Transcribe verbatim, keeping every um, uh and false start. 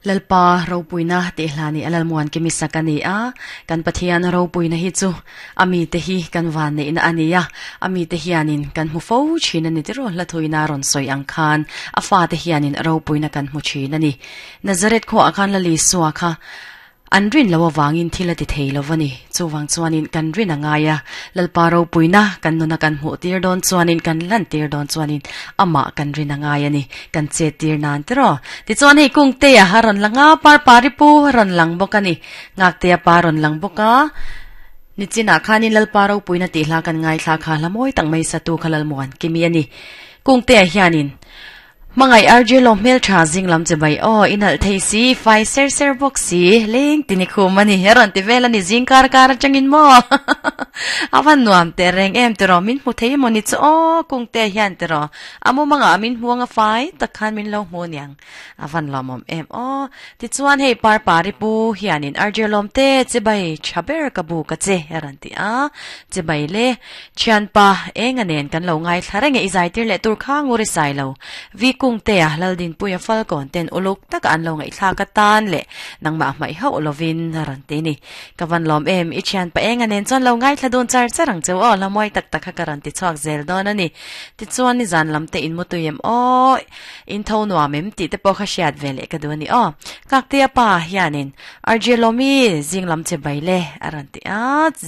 Lalpa ropuina te hlani alalmuan kimi sakani a kan Pathian ropuina hi chu ami te hi kan van nei na ania ami te hianin kan hmu fo thin ani tiro hla thuina ron soi ang khan a fa te hianin ropuina kan hmu thin ani Nazareth kho akhan lali suwa kha an rin lo wangin thila ti thei lo wani chuwang chuanin kan rin angaya lalpa ro puina kan nuna kan hmu tir don chuanin kan lan tir don chuanin ama kan rin angaya ni kan che tir nan tro ti chuan hei kung te a haron langa par pari pu ron lang bokani ngak te a paron lang boka nichina khanin lalpa ro puina ti hla kan ngai thla kha lamoi tang mai satu khalal muan kimi ani kung te a hianin mangai R J lo mel tha jing lam che bai o inal thei si fai ser ser box si leng tini khu mani heron ti vela ni jing kar kar changin mo awan nuam te reng em te ro min mu thei mo ni cho o kung te hian te ro amu manga min huanga fai takhan min lo mu niang awan lomom em o ti chuan hei par pari pu hianin R J lom te che bai chaber ka bu ka che heron ti a che bai le chian pa enga nen kan lo ngai thlarenge izai tir le tur kha nguri sai lo vi kung te a laldin puya falcon ten uluk tak an lo ngai thla ka tan le nangma mai ho lovin ran te ni kawan lom em i chian pa enga nen chon lo ngai thla don char charang cheu o lamoi tak tak kha karan ti chuak zel don ani ti chuan ni zan lam te in mu tuyem o in tho nuam em ti te po kha siat vele ka du ni o kak te pa hianin R J lomi jing lam che bai le aran ti a.